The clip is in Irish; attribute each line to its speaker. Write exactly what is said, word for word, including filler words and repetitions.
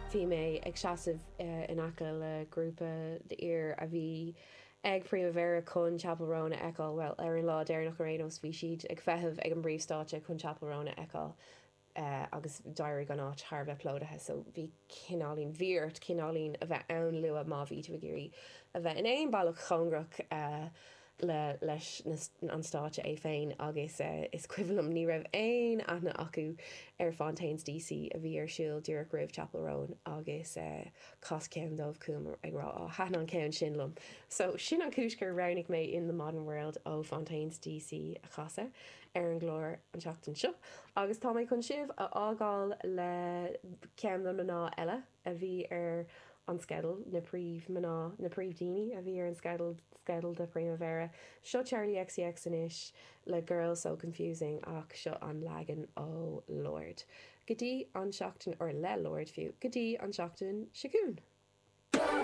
Speaker 1: Bhí mé ag seasamh in aice le grúpa d'fhir a bhí ag Primavera chun Chappell Roan a fheiceáil, well, ar an lá deireanach ar aon nós, bhí siad ag feitheamh ag an bpríomhstáitse chun Chappell Roan a fheiceáil agus d'éirigh an áit thar a bheith plódaithe, so bhí cineáilín, bhí ort cineáilín a bheith ann luath má bhí tú ag iarraidh a bheith in aon bealach cóngarach le leis an stáitse é féin. Agus is cuimhin liom, ní raibh aon aithne acu ar Fontaines D C a bhí ar siúl díreach roimh Chappell Roan, agus chas ceann dóibh chugam ag rá, "Á, thaitin an ceann sin liom." So sin an chúis gur roghnaigh mé In the Modern World ó Fontaines D C a chasadh ar an gclár an tseachtain seo. Agus tá mé chun sibh a fhágáil le ceann de na mná eile a bhí ar an sceideal, na príomh-mhná, na príomhdhaoine a bhí ar an sceideal sceideal de Primavera. Seo Charli X C X anois le Girl So Confusing, ach seo an leagan ó Lorde. Go dtí an seachtain, or le Lorde fiú, go dtí an seachtain seo chugainn.